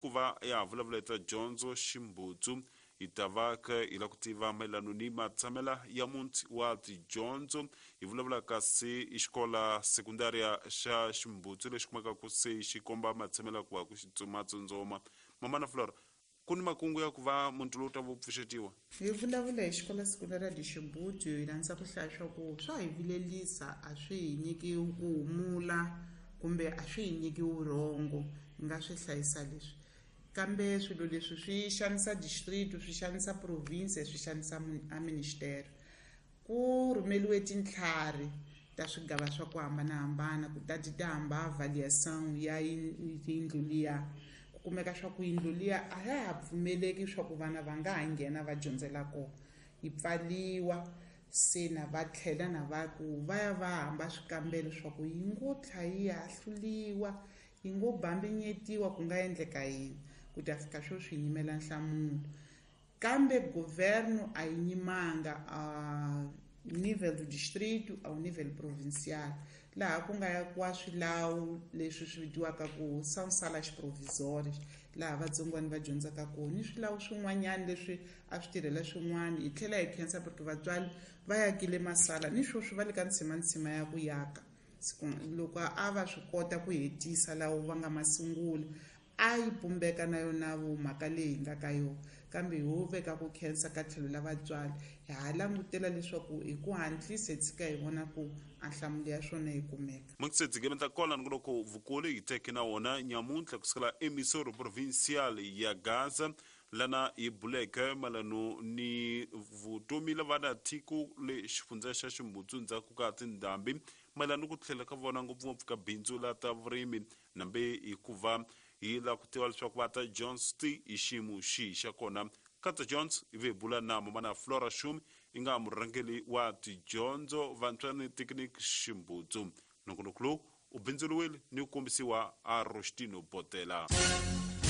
Ku va ya ha vulavula hi ta dyondzo Ximbudzu, hi ta va kha hi lava ku tiva mayelano ni matshamela ya muti wa tidyondzo. Hi vulavula kasi i xikola sekundaria xa Ximbudzu lexi kumekaka se xi komba matshamela ku va ku xi tsumatsundzuma. Mamana Flora, ku ni makungu ya ku va muti lowu ta va wu pfuxetiwa? Hi vulavula hi xikola sekundaria de Ximbudzu, hi rhandza ku hlaya swa ku swa hi vilelisa, a swi hi nyiki ku humula kumbe a swi hi nyiki vurhongo. Hi nga swi hlayisa leswi. Kambe swilo leswi swi xanisa district, swi xanisa province, swi xanisa a ministere. Ku rhumeliwe tintlhari ta swigava swa ku hambanahambana ku ta ti ta hamba avaliação ya yindlu liya. Ku kumeka swa ku yindlu liya a ya ha pfumeleki swa ku vana va nga ha nghena va dyondzela kona, yi pfaliwa. Se na va tlhela na va ku va ya va hamba swikambelo swa ku yi ngo tlha yi hahluliwa, yi ngo bambinyetiwa, ku nga endleka yini. Ku ta fika sweswi hi yimela nhlamulo. Kambe governo a yi nyimanga a nível do distrito ao nível provincial, laha ku nga yakiwa swilawu leswi swi vitiwaka ku são salas provisórias, laha vatsongwana va dyondzaka kona, ni swilawu swin'wanyana leswi a swi tirhela swin'wana. Hi tlhela hi khensa porque vatswari va yakile masala, ni sweswi va le ka ntsimantsima ya ku yaka. Loko a va swi kota ku hetisa lawo va nga ma sungula, a yi pumbeka na yona vo mhaka leyi hi nga ka yona. Kambe ho veka ku khensa ka tlhelo la vatswari, hi ha langutela leswaku hi ku hatlisa hi tshika hi vona ku a nhlamulo ya swona yi kumeka. Mukitsetsi ta kona nongonoko vukulu hi teke na wona nyamuntlha kusukela eMissouri Provincial ya Gaza, lana hi buleke mayelano ni vutomi la vana tiko le xifundza xa Ximbudzu ndzhaku ka tindhambi, mayelano ni ku tlhela ka vona ngopfungopfu ka bindzu la ta vurimi, nambe hikuva hi lava ku tiva leswaku va ta Jones ti hi xiyimo xihi xa kona. Ka ta Jones hi ve hi bula na mamana Flora Shumi, i nga murhangeri wa tidyondzo vantshwa ni Tekniki Ximbudzu. Nongonoko lowu u bindzuriwile ni ku kombisiwa a Rostino Botela.